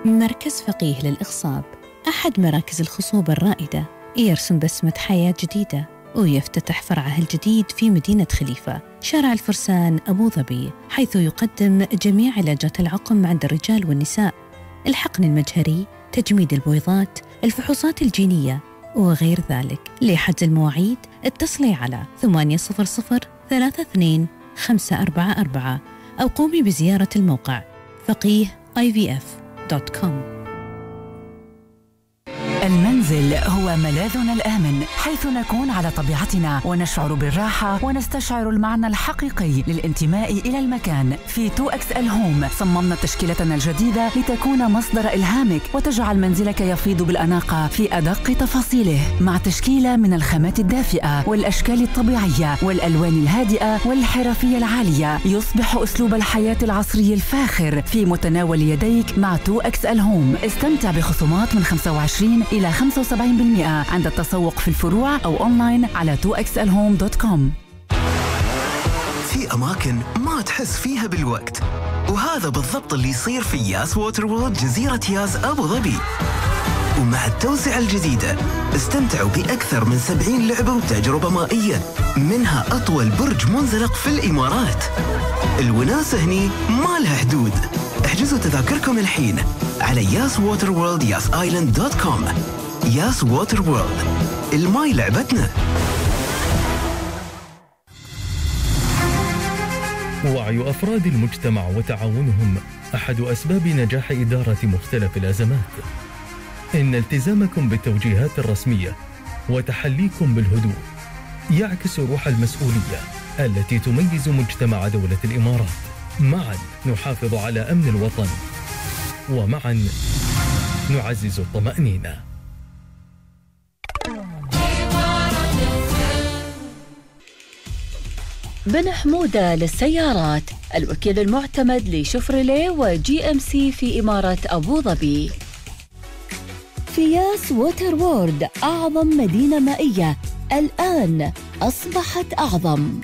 مركز فقيه للإخصاب، أحد مراكز الخصوبة الرائدة، يرسم بسمة حياة جديدة ويفتتح فرعه الجديد في مدينة خليفة شارع الفرسان أبو ظبي، حيث يقدم جميع علاجات العقم عند الرجال والنساء، الحقن المجهري، تجميد البويضات، الفحوصات الجينية وغير ذلك. لحجز المواعيد اتصلي على 800-32-544 أو قومي بزيارة الموقع فقيه.ivf.com. المنزل هو ملاذنا الآمن، حيث نكون على طبيعتنا ونشعر بالراحة ونستشعر المعنى الحقيقي للانتماء إلى المكان. في 2XL Home صممنا تشكيلتنا الجديدة لتكون مصدر إلهامك وتجعل منزلك يفيض بالأناقة في أدق تفاصيله، مع تشكيلة من الخامات الدافئة والأشكال الطبيعية والألوان الهادئة والحرفية العالية. يصبح أسلوب الحياة العصري الفاخر في متناول يديك مع 2XL Home. استمتع بخصومات من 25 إلى 75% عند التسوق في الفروع أو أونلاين على 2xlhome.com. في أماكن ما تحس فيها بالوقت، وهذا بالضبط اللي يصير في ياس ووتر وورلد جزيرة ياس أبو ظبي. ومع التوسعة الجديدة استمتعوا بأكثر من 70 لعبة وتجربة مائية، منها أطول برج منزلق في الإمارات. الوناسة هني ما لها حدود. احجزوا تذاكركم الحين على yaswaterworld.yasisland.com. ياس ووتر وورلد، الماي لعبتنا. وعي أفراد المجتمع وتعاونهم أحد أسباب نجاح إدارة مختلف الأزمات. إن التزامكم بالتوجيهات الرسمية وتحليكم بالهدوء يعكس روح المسؤولية التي تميز مجتمع دولة الإمارات. معا نحافظ على أمن الوطن، ومعا نعزز الطمأنينة. بن حمودة للسيارات، الوكيل المعتمد لشفرليه وجي ام سي في إمارة أبو ظبي. في ياس ووتر وورلد، أعظم مدينة مائية الآن أصبحت أعظم.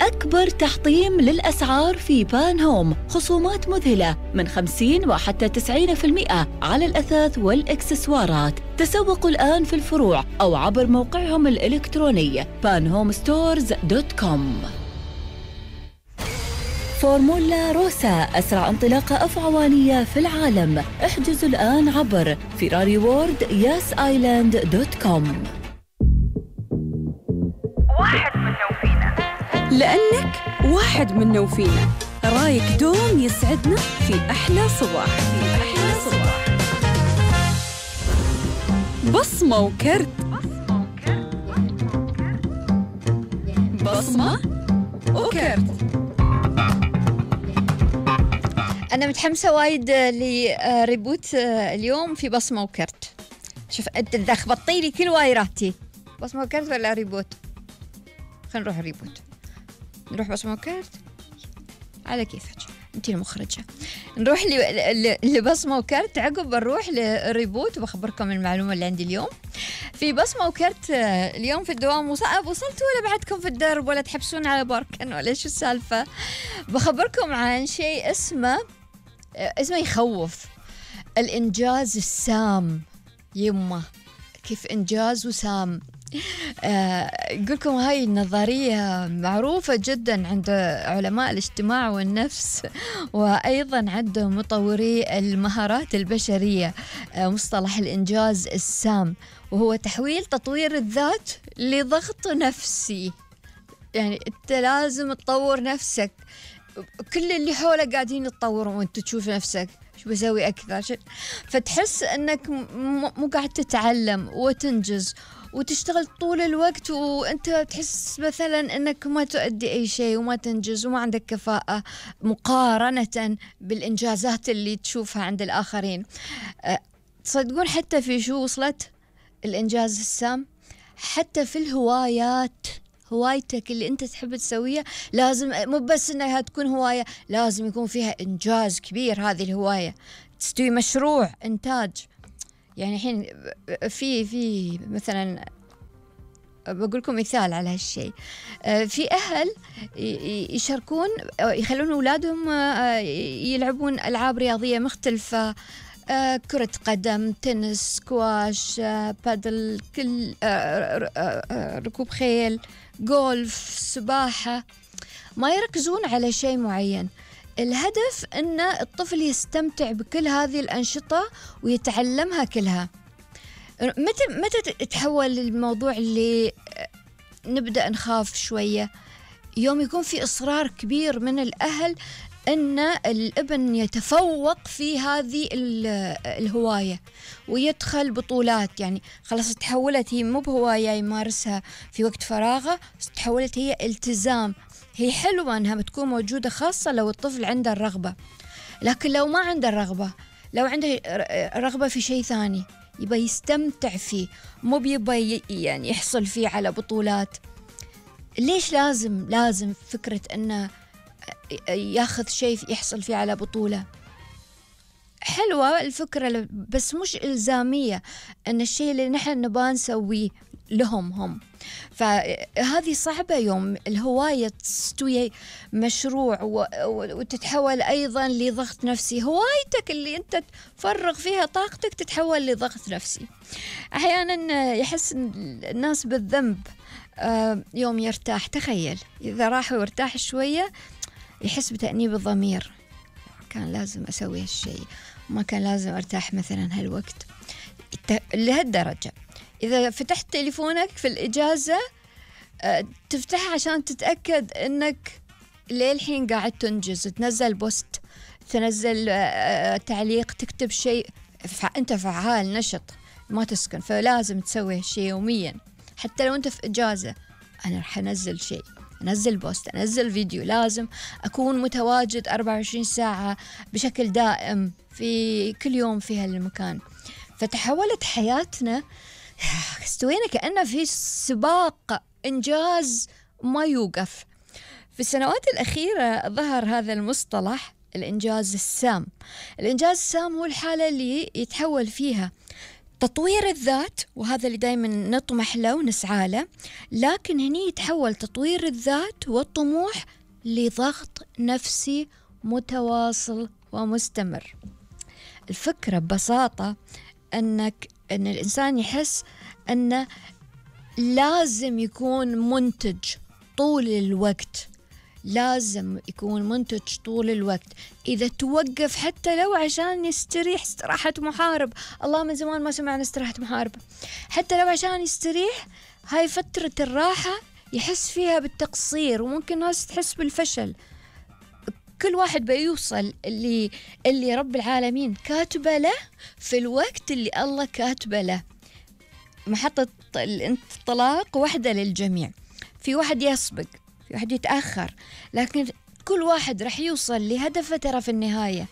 أكبر تحطيم للأسعار في بان هوم، خصومات مذهلة من 50 وحتى 90% على الأثاث والإكسسوارات. تسوقوا الآن في الفروع أو عبر موقعهم الإلكتروني panhomestores.com. فورمولا روسا، أسرع انطلاقة أفعوانية في العالم. احجزوا الآن عبر فيراري وورد yasisland.com. واحد منا وفينا، لأنك واحد منا وفينا. رايك دوم يسعدنا في أحلى صباح. بصمة وكرت، بصمة وكرت. أنا متحمسة وايد لريبوت اليوم في بصمة وكرت. شوف أنت لخبطتي لي كل وايراتي، بصمة وكرت ولا ريبوت؟ خلينا نروح ريبوت. نروح بصمة وكرت على كيفك، أنت المخرجة. نروح لبصمة وكرت، عقب بنروح لريبوت وبخبركم المعلومة اللي عندي اليوم. في بصمة وكرت اليوم في الدوام. وصلتوا ولا بعدكم في الدرب ولا تحبسون على باركن ولا شو السالفة؟ بخبركم عن شيء اسمه يخوف، الإنجاز السام. يمه كيف إنجاز وسام. يقولكم هاي النظرية معروفة جدا عند علماء الاجتماع والنفس، وأيضا عند مطوري المهارات البشرية، مصطلح الإنجاز السام، وهو تحويل تطوير الذات لضغط نفسي. يعني أنت لازم تطور نفسك، كل اللي حولك قاعدين يتطورون وأنت تشوف نفسك شو بسوي أكثر، فتحس أنك مو قاعد تتعلم وتنجز وتشتغل طول الوقت، وأنت تحس مثلا أنك ما تؤدي أي شيء وما تنجز وما عندك كفاءة مقارنة بالإنجازات اللي تشوفها عند الآخرين. تصدقون حتى في شو وصلت الإنجاز السام؟ حتى في الهوايات. هوايتك اللي أنت تحب تسويها لازم مو بس أنها تكون هواية، لازم يكون فيها إنجاز كبير. هذه الهواية تستوي مشروع إنتاج. يعني الحين في مثلا بقول لكم مثال على هالشيء. في أهل يشاركون يخلون أولادهم يلعبون ألعاب رياضية مختلفة، كرة قدم، تنس، سكواش، بادل، كل ركوب خيل، جولف، سباحة. ما يركزون على شيء معين. الهدف أن الطفل يستمتع بكل هذه الأنشطة ويتعلمها كلها. متى تحول الموضوع اللي نبدأ نخاف شوية؟ يوم يكون في إصرار كبير من الأهل أن الابن يتفوق في هذه الهواية ويدخل بطولات. يعني خلاص تحولت هي مو بهواية يمارسها في وقت فراغه، تحولت هي التزام. هي حلوة أنها بتكون موجودة، خاصة لو الطفل عنده الرغبة. لكن لو ما عنده الرغبة، لو عنده رغبة في شيء ثاني يبقى يستمتع فيه، مو بيبقى يعني يحصل فيه على بطولات. ليش لازم فكرة أنه ياخذ شيء يحصل فيه على بطولة؟ حلوة الفكرة بس مش إلزامية أن الشيء اللي نحن نبغى نسويه لهم هم. فهذه صعبة يوم الهواية تستوي مشروع وتتحول أيضا لضغط نفسي. هوايتك اللي أنت تفرغ فيها طاقتك تتحول لضغط نفسي. أحيانا يحس الناس بالذنب يوم يرتاح. تخيل إذا راح وارتاح شوية يحس بتأنيب الضمير، كان لازم أسوي هالشيء، ما كان لازم أرتاح مثلا هالوقت. لهالدرجة إذا فتحت تليفونك في الإجازة تفتحها عشان تتأكد أنك للحين قاعد تنجز، تنزل بوست، تنزل تعليق، تكتب شيء، أنت فعال نشط ما تسكن. فلازم تسوي هالشيء يوميا. حتى لو أنت في إجازة، أنا رح أنزل شيء، أنزل بوست، أنزل فيديو. لازم أكون متواجد 24 ساعة بشكل دائم في كل يوم في هالمكان. فتحولت حياتنا، استوينا كأنه في سباق إنجاز ما يوقف. في السنوات الأخيرة ظهر هذا المصطلح الإنجاز السام. الإنجاز السام هو الحالة اللي يتحول فيها تطوير الذات، وهذا اللي دايما نطمح له ونسعى له، لكن هني يتحول تطوير الذات والطموح لضغط نفسي متواصل ومستمر. الفكرة ببساطة أن الإنسان يحس أنه لازم يكون منتج طول الوقت، لازم يكون منتج طول الوقت. إذا توقف حتى لو عشان يستريح استراحة محارب، الله من زمان ما سمعنا استراحة محارب، حتى لو عشان يستريح، هاي فترة الراحة يحس فيها بالتقصير، وممكن ناس تحس بالفشل. كل واحد بيوصل اللي رب العالمين كاتبه له في الوقت اللي الله كاتبه له. محطة الانطلاق واحدة للجميع، في واحد يسبق، في واحد يتأخر، لكن كل واحد رح يوصل لهدفه ترى في النهاية.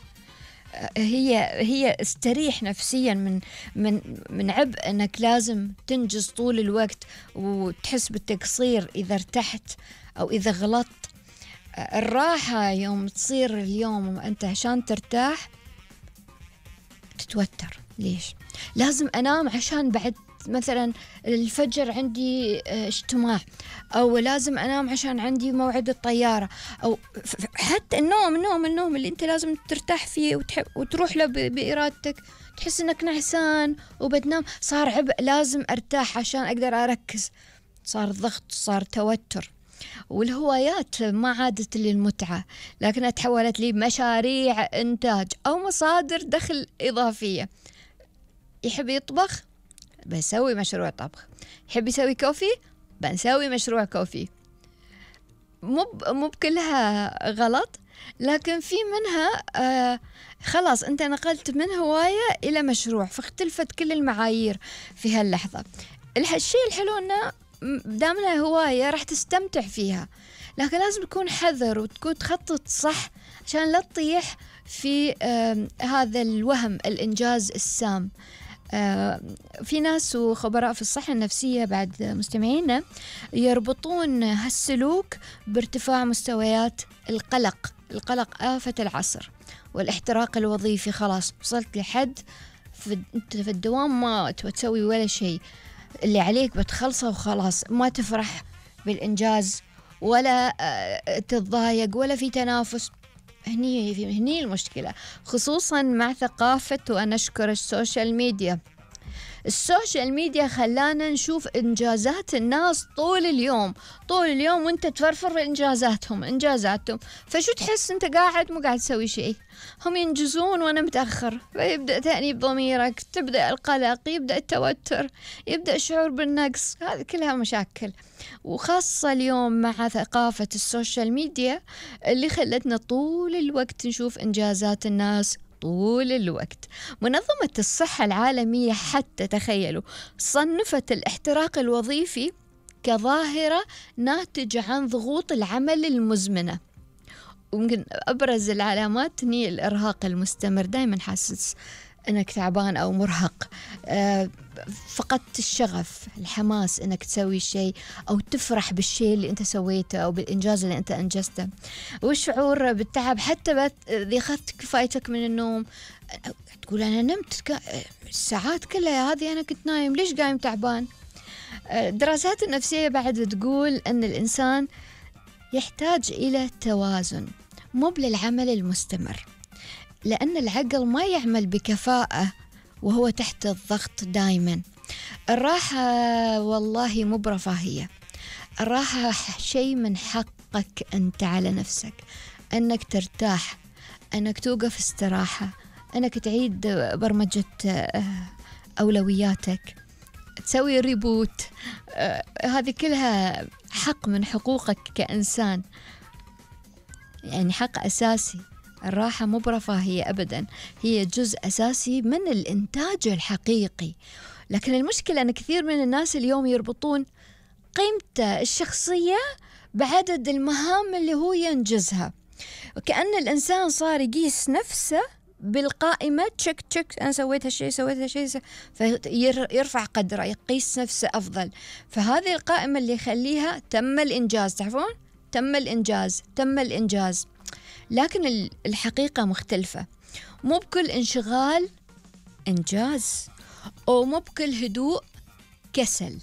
هي استريح نفسيا من عبء انك لازم تنجز طول الوقت وتحس بالتقصير اذا ارتحت او اذا غلطت. الراحة يوم تصير اليوم أنت عشان ترتاح تتوتر. ليش؟ لازم أنام عشان بعد مثلا الفجر عندي اجتماع، أو لازم أنام عشان عندي موعد الطيارة، أو حتى النوم اللي أنت لازم ترتاح فيه وتروح له بإرادتك، تحس أنك نعسان وبتنام، صار عبء، لازم أرتاح عشان أقدر أركز، صار ضغط، صار توتر. والهوايات ما عادت للمتعة، لكنها تحولت لي مشاريع إنتاج أو مصادر دخل إضافية. يحب يطبخ، بنسوي مشروع طبخ. يحب يسوي كوفي، بنسوي مشروع كوفي. مو بكلها غلط، لكن في منها خلاص أنت نقلت من هواية إلى مشروع، فاختلفت كل المعايير في هاللحظة. الشيء الحلو أنه دامنا هواية راح تستمتع فيها، لكن لازم تكون حذر وتكون تخطط صح عشان لا تطيح في هذا الوهم الإنجاز السام. في ناس وخبراء في الصحة النفسية بعد مستمعينا يربطون هالسلوك بارتفاع مستويات القلق آفة العصر والاحتراق الوظيفي. خلاص وصلت لحد أنت في الدوام ما تسوي ولا شيء، اللي عليك بتخلصه وخلاص، ما تفرح بالإنجاز ولا تتضايق ولا في تنافس. هني المشكلة، خصوصا مع ثقافة، وأنا أشكر السوشيال ميديا. السوشيال ميديا خلانا نشوف إنجازات الناس طول اليوم وانت تفرفر إنجازاتهم. فشو تحس انت قاعد مو قاعد تسوي شيء، هم ينجزون وانا متأخر، فيبدأ تأنيب ضميرك، تبدأ القلق، يبدأ التوتر، يبدأ الشعور بالنقص. هذه كلها مشاكل، وخاصة اليوم مع ثقافة السوشيال ميديا اللي خلتنا طول الوقت نشوف إنجازات الناس طول الوقت. منظمة الصحة العالمية حتى تخيلوا صنفت الاحتراق الوظيفي كظاهرة ناتجة عن ضغوط العمل المزمنة، وممكن أبرز العلامات هي الإرهاق المستمر، دايما حاسس أنك تعبان أو مرهق، فقدت الشغف، الحماس أنك تسوي شيء أو تفرح بالشيء اللي أنت سويته أو بالإنجاز اللي أنت أنجزته، والشعور بالتعب حتى إذا أخذت كفايتك من النوم، تقول أنا نمت الساعات كلها هذه أنا كنت نايم، ليش قايم تعبان؟ الدراسات النفسية بعد تقول أن الإنسان يحتاج إلى توازن، مو للعمل المستمر، لأن العقل ما يعمل بكفاءة وهو تحت الضغط دايما. الراحة والله مو برفاهية، الراحة شيء من حقك أنت على نفسك، أنك ترتاح، أنك توقف استراحة، أنك تعيد برمجة أولوياتك، تسوي ريبوت. هذه كلها حق من حقوقك كإنسان، يعني حق أساسي. الراحة مو برفاهية أبدا، هي جزء أساسي من الإنتاج الحقيقي. لكن المشكلة أن كثير من الناس اليوم يربطون قيمته الشخصية بعدد المهام اللي هو ينجزها، وكأن الإنسان صار يقيس نفسه بالقائمة، تشك أنا سويت هالشيء فيرفع قدره، يقيس نفسه أفضل. فهذه القائمة اللي يخليها تم الإنجاز، تعرفون؟ تم الإنجاز. لكن الحقيقة مختلفة، مو بكل انشغال إنجاز، أو مو بكل هدوء كسل.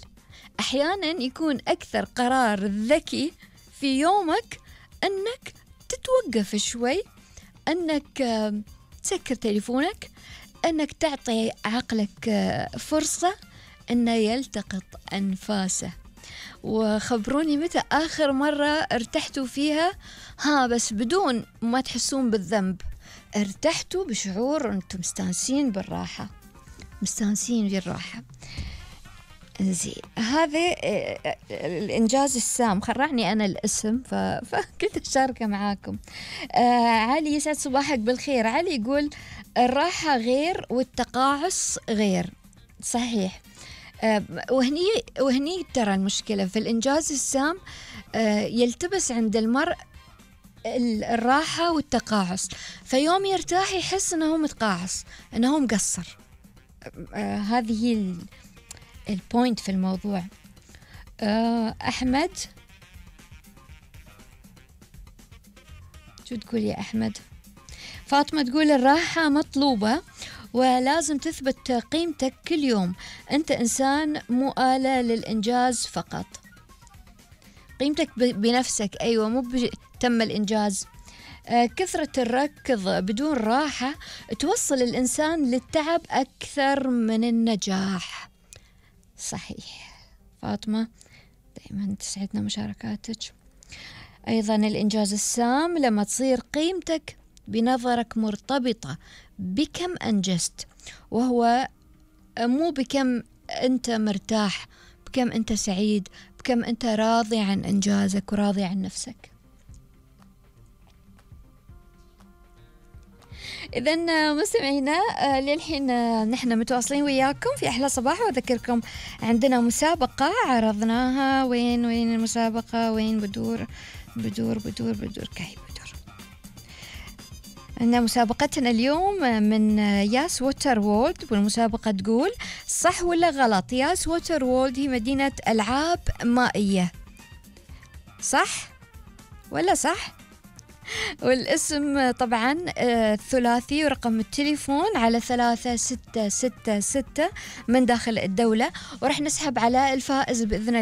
أحيانا يكون أكثر قرار ذكي في يومك أنك تتوقف شوي، أنك تسكر تليفونك، أنك تعطي عقلك فرصة أنه يلتقط أنفاسه. وخبروني متى آخر مرة ارتحتوا فيها، بس بدون ما تحسون بالذنب، ارتحتوا بشعور أنتم مستانسين بالراحة، زين. هذا الإنجاز السام، خرعني أنا الاسم فكنت أشاركه معاكم. علي يسعد صباحك بالخير. علي يقول الراحة غير والتقاعس غير. صحيح. وهني ترى المشكلة في الإنجاز السام، يلتبس عند المرء الراحة والتقاعس، فيوم يرتاح يحس أنه متقاعس، أنه مقصر. هذه هي البوينت في الموضوع. أحمد، شو تقول يا أحمد؟ فاطمة تقول الراحة مطلوبة ولازم تثبت قيمتك كل يوم، أنت إنسان مو آلة للإنجاز فقط. قيمتك بنفسك، أيوة، مو تم الإنجاز. كثرة الركض بدون راحة توصل الإنسان للتعب أكثر من النجاح. صحيح فاطمة، دائما تسعدنا مشاركاتك. أيضا الإنجاز السام لما تصير قيمتك بنظرك مرتبطة بكم أنجزت، وهو مو بكم أنت مرتاح، بكم أنت سعيد، بكم أنت راضي عن إنجازك وراضي عن نفسك. إذن مستمعينا للحين نحن متواصلين وياكم في أحلى صباح، وأذكركم عندنا مسابقة عرضناها. وين المسابقة؟ وين بدور كاي بدور. عندنا مسابقتنا اليوم من ياس ووتر وورلد، والمسابقة تقول صح ولا غلط؟ ياس ووتر وورلد هي مدينة ألعاب مائية، صح ولا صح؟ والاسم طبعا ثلاثي، ورقم التليفون على 3666 من داخل الدولة. ورح نسحب على الفائز بإذن الله